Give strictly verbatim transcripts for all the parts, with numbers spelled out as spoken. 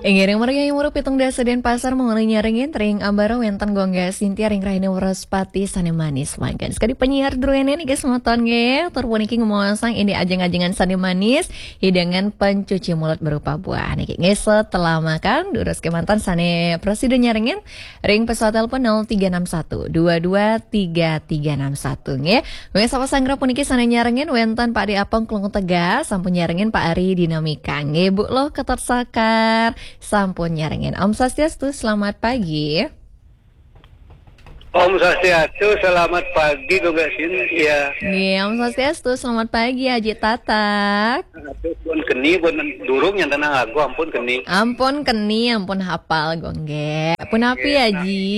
Inggih, ring margi nomor pitung dasa Denpasar, mangkin nyarengin ring ambara wénten Gung Gék Sintia ring rahina Wraspati sané manis mangkin. Sakadi penyiar druéné niki semeton nggih, tur puniki ngemaosang indik ajeng-ajengan sané manis, hidangan pencuci mulut berupa buah niki. Nggih, setelah makan, durus kémanten sané prasida nyarengin ring pesawat telepon nol tiga enam satu dua dua tiga tiga enam satu nggih. Wéh, sapa sanggra puniki sané nyarengin wénten Pak Di Apong Klungkung Tegal, sampun nyarengin Pak Ari Dinamika. Nggih, Bu Loh Ketot Sakar, sampun nyarengin. Om Swastiastu, selamat pagi. Om Swastiastu, selamat pagi, Gung Gék Sintia. Nggih, Om Swastiastu, selamat pagi, Aji Tatak. Aduh, pun keni, pun durung nyantenang lagu, ampun keni. Ampun keni, ampun hapal, Gung Gék. Punapi, Nggih, nah. Aji?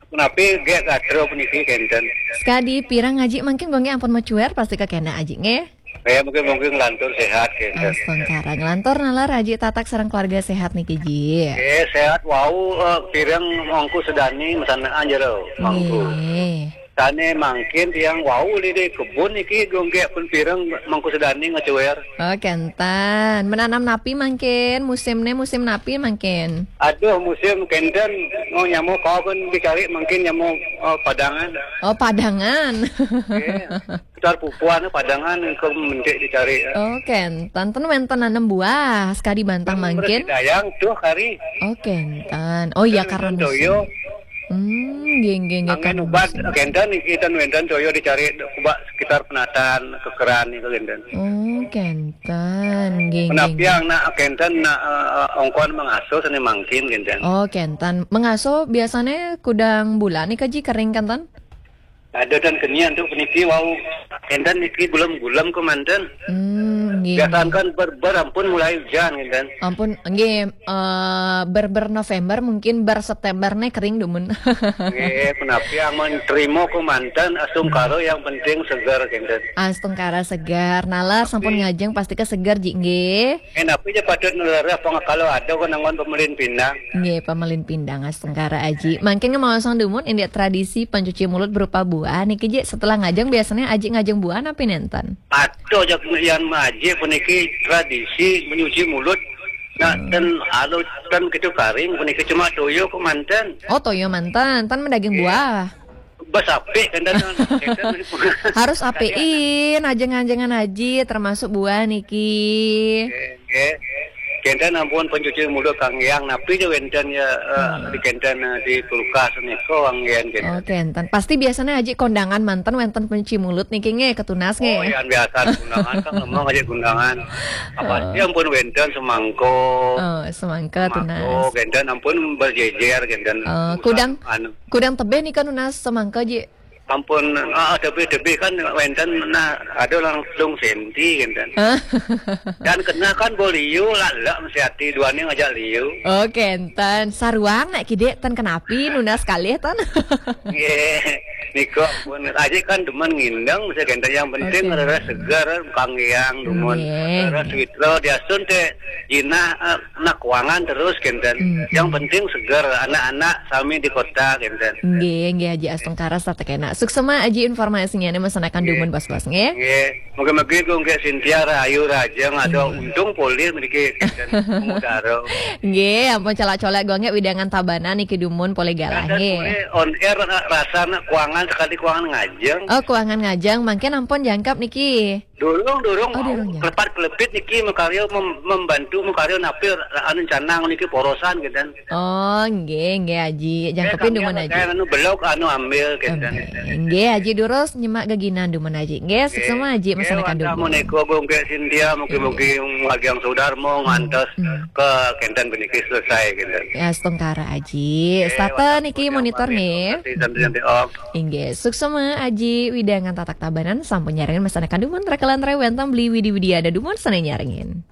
Punapi, Gék, gatra puniki kénten. Sakadi pirang Aji mangkin, Gung Gék, ampun macuér, pasti kakéné Aji, nggih. Ya, mungkin, mungkin nglantur séhat, kénten. Astungkara, nglantur nalar Aji Tatak sareng keluarga séhat niki, Ji? Nggih, séhat wau, eh, pireng Mangku Sedani, masandekan jero, Mangku. Nggih. Sané mangkin tiang wau di kebun niki, Gung Gék, pun pireng Mangku Sedani ngacuér. Oh, kénten. Menanam napi mangkin? Musimné musim napi mangkin? Aduh, musim kénten, mau nyama kau pun dicari mangkin nyama, eh, padangan. Oh, padangan. Nggih. Sekitar pupuan padangan engko mentik dicari. Oh, kénten. Ten wénten nanem buah, sakadi bantang mangkin? Dayang tuh kari. Oh, kénten. Oh iya, karena musim. Toyo. Hmm, nggih, nggih, nggih, angin karena ubat, musim. Kénten niki ten wénten toyo dicari kubak sekitar penatan, kekeran niku kénten. Oh, kénten. Nggih, nggih, Menapi nggih. Yang nak kénten nak, eh, ongkon mengasuh sané mangkin kénten. Oh, kénten. Mengasuh biasanya kudang bulan nika, Ji, kering kénten? Ada dan kenian tuh puniki wau kénten niki gulem-gulem kémanten. Hmm, nggih, Biasaan nggih. Kan ber, ber ampun mulai hujan kénten. Ampun, nggih, eh, ber, ber November mungkin ber September né kering dumun. Nggih, punapi amun trimo kémanten, astungkara yang penting seger kénten. Astungkara seger. Nalar sampun Tapi ngajeng pasti ka seger, Ji, nggih. Eh, napi ja patut ngelereh pangakala ada ko nangon pamelin pindang. Nggih, pamelin pindang astungkara, Aji. Mangkin ngemaosang dumun indik tradisi pencuci mulut berupa buah niki, Ji, setelah ngajeng biasanya Aji ngajeng buah napi nénten? Aduh, jak yan Aji puniki tradisi menyuci mulut. Nah, Hmm. Dan alo dan kitu karing puniki cuma toyo kémanten. Oh, toyo manten, ten mendaging Iya. Buah. Bas apik kan, dan, dan, Harus apikin, ajeng-ajengan Aji, termasuk buah niki. Nggih, nggih. Kénten ampun pencuci mulut kang yang napi ja wénten ya, eh, Hmm. Di kénten, eh, di kulkas nika kang yang kénten. Oh, kénten. Pasti biasanya Aji kondangan manten wénten pencuci mulut niki nggih, ketunas nggih. Oh, yang biasa kondangan kan memang aja kondangan. Apa Oh. Sih ampun wénten semangko. Oh, semangka Semangko, tunas. Kénten ampun berjejer kénten. Oh, Usah kudang anu. Kudang tebih nika nunas semangka, Ji? Ampun, ah, tebih-tebih kan wénten, nah, ada langsung senti kénten. Hah? Dan kena kan bo liu, lalak mesti hati duaning ngajak liu. Oh, kénten. Saruang nak kidik ten kenapi nunas kalih ten. Nggih. Nika pun Aji kan demen ngindeng mesti kénten, yang penting Oke. Rasa segar, kanggiang dumun. Nggih. Rasa sweet lo diasun téh jinah, eh, nak kuangan terus kénten. Mm-mm. Yang penting seger, anak-anak sami di kota kénten. Nggih, nggih, Aji astungkara satekena. Suksema Aji informasinya nih, masanakan Nggih. Dumun bos-bos nggih. Nggih. Mugi-mugi Gung Gék Sintia rahayu rahajeng ada Nggih. Untung polih mriki kénten. Mudaro. Nggih, ampun calak-calak Gung Gék widangan Tabanan niki dumun polih galah Ada nggih. Polih on air ra-, rasa nak kuangan sekali kuangan ngajeng. Oh, kuangan ngajeng, mangkin ampun jangkep niki. Durung, durung, Oh, durung, ya. Kelepat-kelepit niki makarya mem-, membantu makarya napi anu canang niki porosan kénten. Oh, nggih, nggih, Aji. Jangkepin dumun, Aji. Anu belok, anu ambil, kénten. Nggih, Aji, durus nyemak geginan dumun, Aji. Nggih, suksema, Aji, masanakan dumun. Menika Gung Gék Sintia, mugi-mugi ngagiang sudarma, ngantos ke kénten puniki selesai, kénten. Ya, astungkara, Aji. Nggih, Stata niki monitor, nggih. Santai-santai, Om. Inggih, suksema Aji widangan Tatak Tabanan sampun nyarengin masanakan dumun, rekelan rewénten Beli Widi Widiada dumun sané nyarengin.